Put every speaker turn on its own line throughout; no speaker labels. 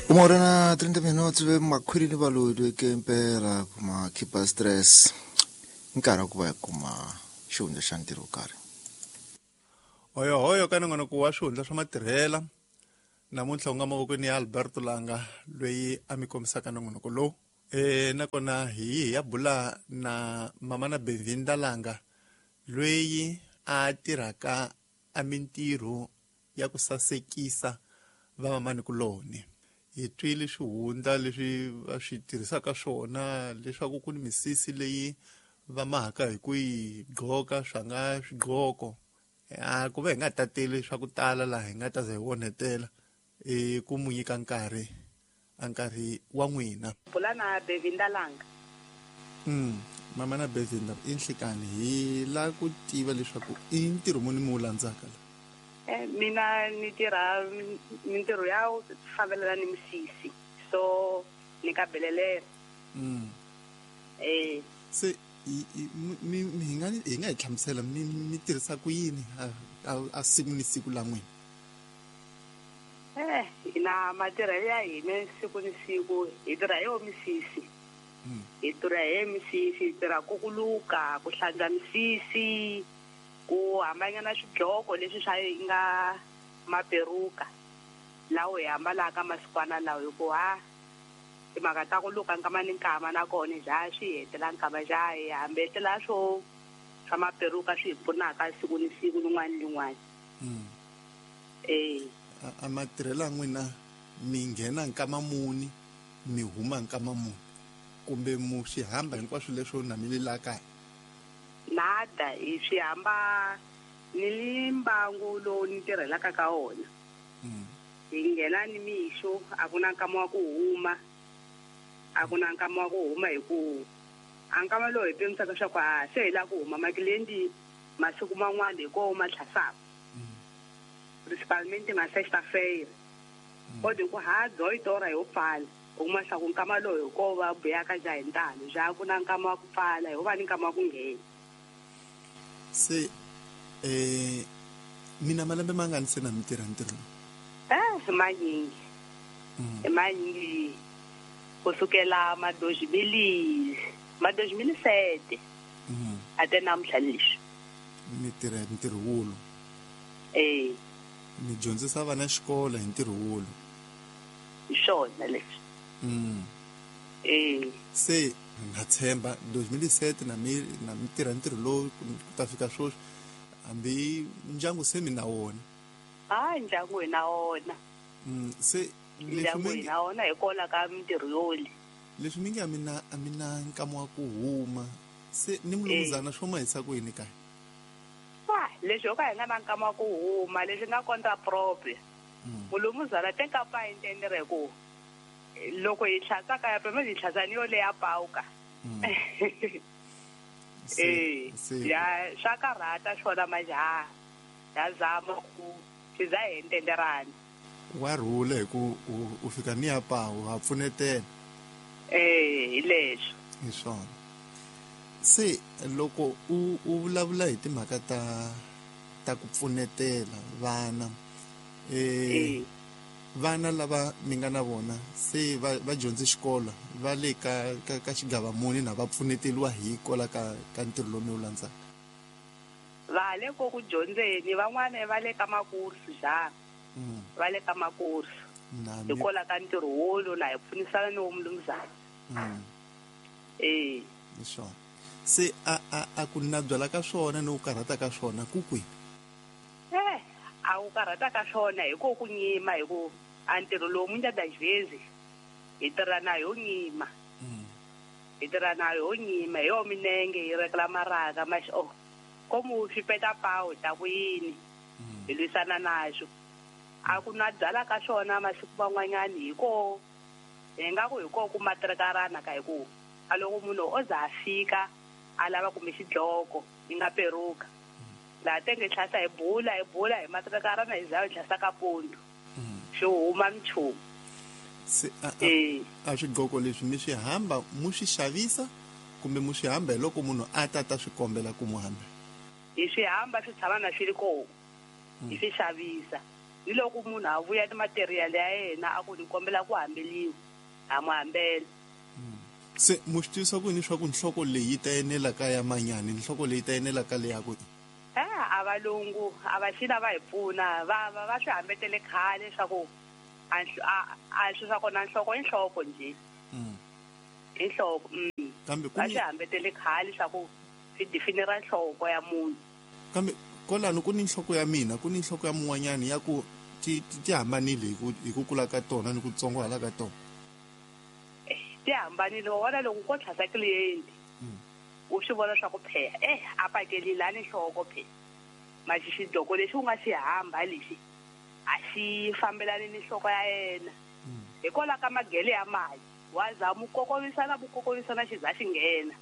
Uma hora na 30 minutos ve makhwiri ni valodi ke impela kuma khipa stress nkarhi wa ku va hi kuma xihundla xa ntirho wo karhi.
Hoyohoyo ka nongonoko wa swihundla swa matirhela namuntlha u nga mavokweni ya Alberto Langa loyi a mi kombisaka nongonoko lowu. E nakona hi hi ya bula na mama na Bevinda Langa loyi a tirhaka a mintirho ya ku sasekisa vamamanikuloni. Hi twile swihundla leswi va swi tirhisaka swona leswaku ku ni misisi leyi va mahaka hi ku yi gqoka swa nga swigqoko. A ku va hi nga tateli swa ku tala laha hi nga ta za hi onhetela i ku mu nyika nkarhi a nkarhi wa n'wina.
Bula na Bevinda Langa.
Mama na Bevinda i nhlikani hi la ku tiva leswaku i ntirho muni mi wu landzaka la.
Mina ni tirha mintirho ya fambelana ni misisi so ni ka belelela.
Se mi hi nga hi nga hi hlamusela mi mi tirhisa ku yini a siku ni siku la n'wina?
Hina matirhelo ya hina siku ni siku hi tirha hi yo misisi. Hi tirha hi misisi, hi tirha ku ku luka, ku hlantswa misisi, ku hambanyana swidloko leswi swa nga maperuka lawo hi ambalaka masikwana lawa hi ku ha timhaka ta ku luka nkama ni nkama nakona ja swi hetela nkama ja hi hambetela swo swa maperuka swi hi pfunaka siku ni siku lin'wana ni lin'wana.
A matirhelo ya n'wina mi nghena nkama muni mi huma nkama muni kumbe mu swi hamba hinkwaswo leswo na mi le la kaya?
Nada, hi swi hamba ni li mbangu lowu ni tirhelaka ka wona. Hi nghena ni mixo, a ku na nkama wa ku huma, a ku na nkama wa ku huma hi ku a nkama lowu hi pimisaka swa ku a se hi lava ku huma makilendi masiku man'wana hi koho ma tlhasaka. Principalmente ma sexta-feira. Kodwa ku ha doitora yo pfala, u kuma swa ku nkama lowu hi koho va buyaka ja hi ntalo, ja ku na nkama wa ku pfala, ho va ni nkama wa ku nghena.
Se mina malembe mangani se na mi tirha ntirho lowu?
I manyingi. I manyingi ku sukela ma 2007 ate namuntlha leswi.
Mi tirha ntirho wulu? Mi dyondzisa vana xikolo hi ntirho wulu?
Hi swona leswi.
Se na tshemba 2007 na mi na mi tirha ntirho lowu ku ta fika sweswi hambi ndyangu se mi na wona?
Ha ndyangu hi na wona.
Se
ndyangu hi na wona hikwalaho ka mintirho yoli.
Leswi mi nge a mi na a mi na nkama wa ku huma se ni mulumuzana swo ma hisa ku yini kaya?
Leswi ho ka hi nga na nkama wa ku huma leswi nga contra proprio. Mulumuzana te ka pa intendere ku loko hi hlatsa kaya pema hi hlatsa ni yo leya pawuka. Ya swa karhata swona majaha ya zama ku swi za hi entenderana.
Wa rhula hi ku u fika ni ya pawu ha pfunetela.
Hi leswo.
Hi swona. Se loko u vulavula hi timhaka ta ku pfunetela vana vana lava mi nga na vona se va dyondze xikolo va le ka xigava muni na va pfuneteliwa hi kola ka ntirho lowu mi wu landzaka?
Va le ko ku dyondzeni, van'wana va le ka makursu ja. Va le ka makursu. Hi kola ka ntirho wolo na hi pfunisana ni wo mulumuzana.
Hi swona. Se a ku na byala ka swona ni ku karhata ka swona ku kwihi?
A ku karhata ka swona hi ko ku nyima hi ku a ntirho lowu muita das vezes hi tirha na yo nyima. Hi tirha na yo nyima hi yo minenge hi rekela maraka maxi oh komu swi peta pawu ta ku yini hi lwisana naxo. A ku na byala ka swona masiku man'wanyani hi ko hi nga ku hi ko ku matirhekarana ka hi ku a loko munhu o za a fika a lava kumbe xidloko yi nga peruka. Laha tenge hlasa hi bula hi bula hi matirhekarana hi za hi hlasa ka pundu. Xi huma minchumu.
Se a swigqoko leswi mi swi hamba mu swi xavisa kumbe mu swi hamba hi loko munhu a ta ta swi kombela ku mu hambela?
Hi swi hamba swi tshama na swi ri kona. Hi swi xavisa. Ni loko munhu a vuya ni material ya yena a ku ni kombela ku hambeliwa, ha mu hambela.
Se mu swi tivisa ku yini swa ku nhloko leyi yi ta enela ka ya manyani, nhloko leyi ta enela ka leya ku
A valungu a va xina va hi pfuna, va swi hambetele khale swa ku a swi swa kona nhloko i nhloko nje. I nhloko.
Kambe
Va swi hambetele khale swa ku swi definira nhloko ya munhu.
Kambe kwalano ku ni nhloko ya mina, ku ni nhloko ya mun'wanyani ya ku ti hambanile hi ku kula ka tona ni ku tsongohala ka tona.
Ti hambanile, wa vona loko ko tlhasa client u swi vona swa ku pheha a pakelile a ni nhloko phe. Maxi xidloko lexi u nga xi hamba lexi a xi fambelani ni nhloko ya yena. Hikwalaho ka magele ya mali wa za mu kokovisana xi za xi nghena.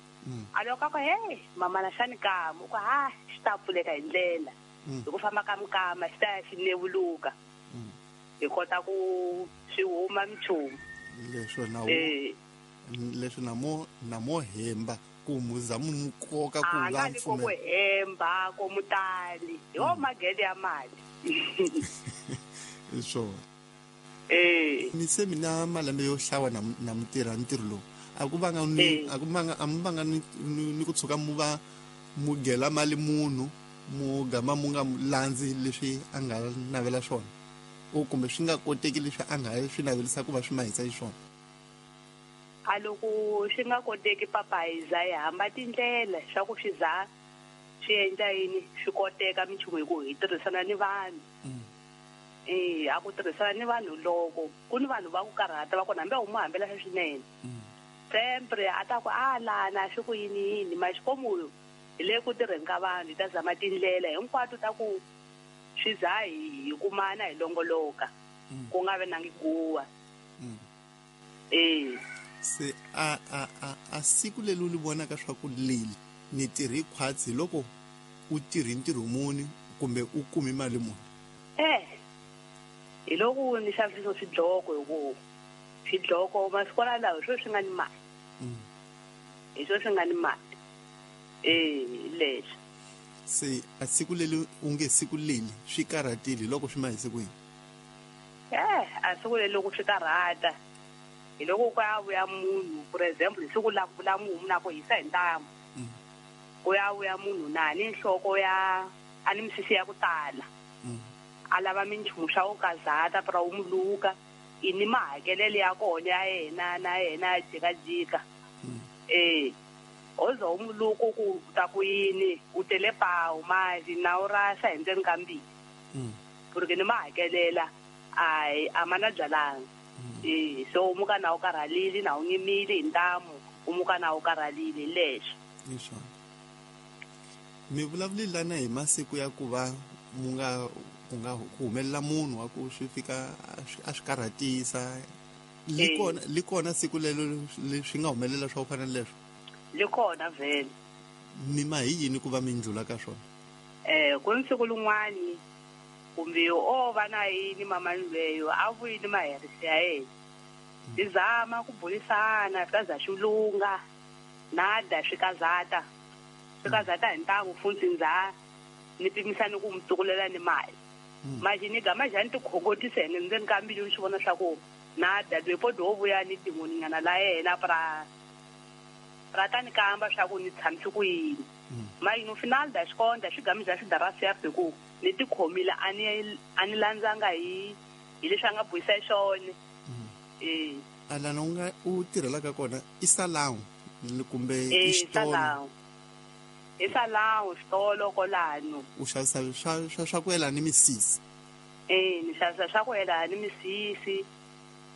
A loko a ku hey mama na xani kama u ku ha xi ta pfuleka hi ndlela. Hi ku famba ka mukama xi ta ya xi nevuluka. Hi kota ku swi huma minchumu.
Leswo na leswo na mo hemba ku muza mu koka ku
la mfume. Ku hemba ko mutali. Hi wo magele ya mali.
Hi swona. Mi se mina malembe yo hlawa na mutirha ntirho lowu. A ku vanga ni a ku vanga a mu vanga ni ku tshuka mu va mugela mali munhu mu gama mu nga landzi leswi a nga navela swona. O kumbe swi nga koteki leswi a nga swi navelisa ku va swi mahisa xiswona.
A loko swi nga koteki papa hi za hi hamba tindlela swa ku swi za swi endla yini swi koteka minchumu hi ku hi tirhisana ni vanhu. A ku tirhisana ni vanhu loko ku ni vanhu va ku karhata va kona hambi u mu hambela swinene. Sempre a ta ku a lana swi ku yini yini maxikomu hi le ku tirheni ka vanhu hi ta zama tindlela hinkwato ta ku swi za hi kumana hi longoloka ku nga vi na ngiguwa.
Se a siku leri u li vonaka swa ku leli ni tirhi khwatsi loko u tirhi ntirho muni kumbe u kumi mali muni?
Hi loko ni xavisa swidloko hi ku swidloko masikwana lawa hi swo swi nga ni mali. Hi swo swi nga ni mali. Leswi.
Se a siku leri u nge siku leli swi karhatile loko swi mahise ku yini?
A siku leri loko swi karhata hi loko ku ya vuya munhu, for example hi siku la la mumu na ku hisa hi ntamu. Ku ya vuya munhu na ni nhloko ya a ni misisi ya ku tala. A lava minchumu swa ku kazata pra u muluka i ni mahakelelo ya kona ya yena na yena jikajika. Oza u muluku ku ta ku yini u tele pawu mali na u rasa hi ndzeni ka mbili. Porque ni mahakelela ai a mana byalanga. So u muka na u karhalile na u nyimile hi ntamu u muka na u karhalile leswi.
Leswi. Mi vulavuli lana hi masiku ya ku va mu nga ku nga ku humelela munhu wa ku swi fika a swi karhatisa. Li kona siku lelo leswi nga humelela swa ku fana leswo.
Li kona vhele.
Mi ma hi yini ku va mi ndlula ka swona?
Ku ni siku lin'wani kumbe o va na yini mama lweyo a vuyini maherisi ya yena. Hi zama ku burisana swi za swi lunga nada swi kazata. Swi kazata hi ntangu funtsi ndzha ni pimisa ni ku mu tukulela ni mali. Mali ni gama njhani tikhongotisa hi ndzeni ka mbilu ni swi vona swa ku nada lwepo do vuya ni tin'waninyana la yena pra ra ta ni kamba swa ku ni tshamisi ku yini. Mali no final da xikonda swi gami bya xidarasi ya ku ni tikhomile a ni landzanga hi leswi a nga buisa xona.
Alana u nga u tirhelaka kona i salon kumbe i xitolo?
I salon xitolo kolano.
U xavisa swa ku yelana ni misisi?
Ni xavisa swa ku yelana ni misisi,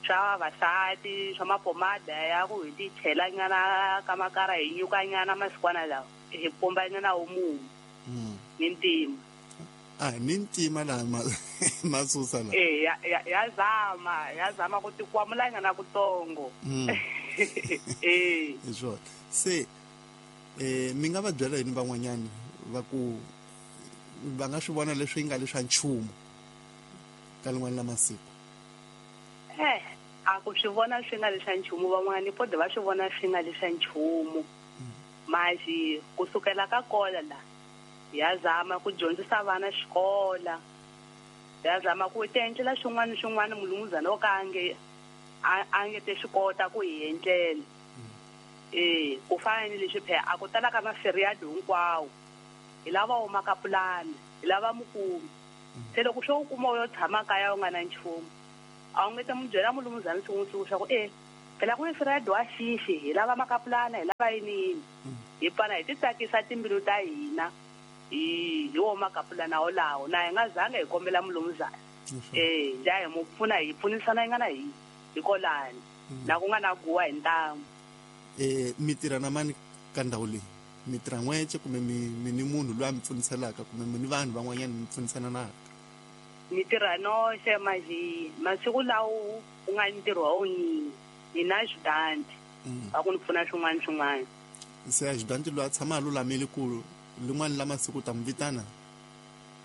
swa vavasati, swa mapomada ya ku hi ti chela nyana ka makara hi nyuka nyana masikwana lawa hi pumba nyana wu mumu. Ni ntima.
Ni ntima la masusa la.
Ya zama, ya zama ku tikwamula nyana kutsongo.
Hi swona. Se mi nga va byela yini van'wanyani va ku va nga swi vona leswi nga leswa nchumu ka lin'wana la masiku?
A ku swi vona swi nga leswa nchumu van'wani po va swi vona swi nga leswa nchumu. Mali kusukela ka kola la ya zama ku dyondzisa vana xikola. Ya zama ku ti endlela xin'wana ni xin'wana mulumuzana wo ka a nge a nge te swi kota ku hi endlela. E ku fana ni leswi phela a ku tala ka maferiado hinkwawo hi lava humaka pulani, hi lava mukumi. Se loko swo u kuma u yo tshama kaya u nga na nchumu, a wu nge te mu byela mulumuzana siku ni siku swa ku e phela ku ni feriado wa xixi, hi lava makapulana, hi lava yini yini. Hi pfana hi ti tsakisa timbilu ta hina hi wo makapulana wolawo, na hi nga zanga hi kombela mulumuzana. E njha hi mu pfuna, hi pfunisana yi nga na hi kolani na ku nga na guwa hi ntamu.
Mi tirha na mani ka ndhawu leyi? Mi tirha n'wece kumbe mi ni munhu loyi a mi pfuniselaka, kumbe mi ni vanhu van'wanyana mi pfunisana naka?
Ni tirha noxe manje masiku lawo ku nga ntirho wa wunyingi, ni na xidanti va ku ni pfuna swin'wana swin'wana.
Se a xidanti loyi a tshama a lulamile ku lin'wana la masiku u ta mi vitana?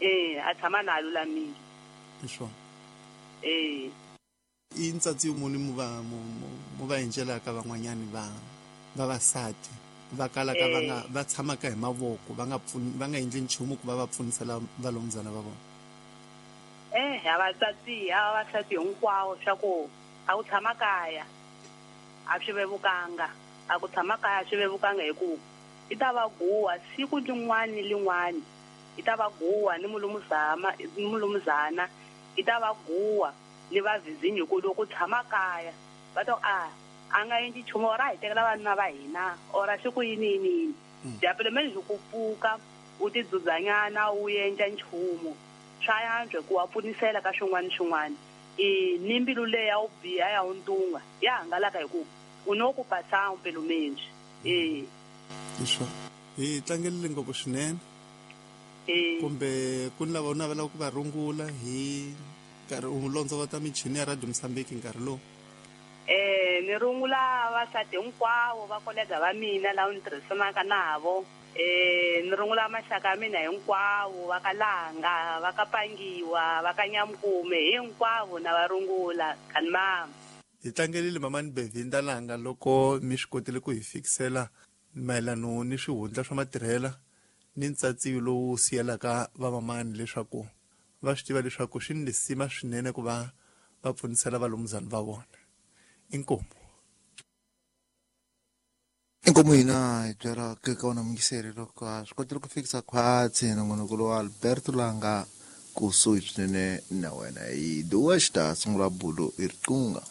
E a tshama na a lulamile.
Hi swona.
E
I ntsatsi muni mu va mu va endlelaka van'wanyani va vavasati va kalaka va nga va tshamaka hi mavoko, va nga pfuni, va nga endli nchumu ku va va pfunisela valomuzana va vona?
A vatsatsi a vavasati hinkwawo swa ku a ku tshama kaya a swi vevukanga, a ku tshama kaya a swi vevukanga hi ku i ta va guwa siku lin'wana ni lin'wana, i ta va guwa ni mulumuzama ni mulumuzana, i ta va guwa ni va vizinyo, hi ku loko u tshama kaya va ta ku a nga endli nchumu, or a hi tekela vanuna va hina, or a swi ku yini yini yini. Japele meni hi ku pfuka u ti dzudzanyana u endla nchumu swa yantswa ku wa pfunisela ka swin'wana ni swin'wana. E ni mbilu leyi ya wu biha ya wu ntunga ya hangalaka hi ku u no ku pasa mbilu menji. E
hi swona, hi tlangelile ngopfu swinene. Kumbe ku ni lava u navelaka ku va rungula hi nkarhi u londzovota michini ya Radio Mozambique nkarhi lowu?
Ni rungula vavasati hinkwavo va kolega va mina lava ni tirhisanaka navo. Ni rungula maxaka ya mina hinkwavo va ka Langa, va ka Pangiwa, va ka Nyamkume, hinkwavo na va rungula. Kani mama.
Hi tlangelile mamani Bevinda Langa loko mi swi kotile ku hi fikisela mayelano ni swihundla swa matirhela ni ntsatsiyo lowu siyelaka vamamani leswaku va swi tiva leswaku swi ni lisima swinene ku va va pfunisela valomuzana va vona. Inkomu.
Inkomu hina hi byela ka wona muyingiseri loko a swi kotile ku fikisa khwatsi nongonoko lowa Alberto Langa kusuhi swinene na wena. Hi duwa xi ta sungula bulo hi riqunga.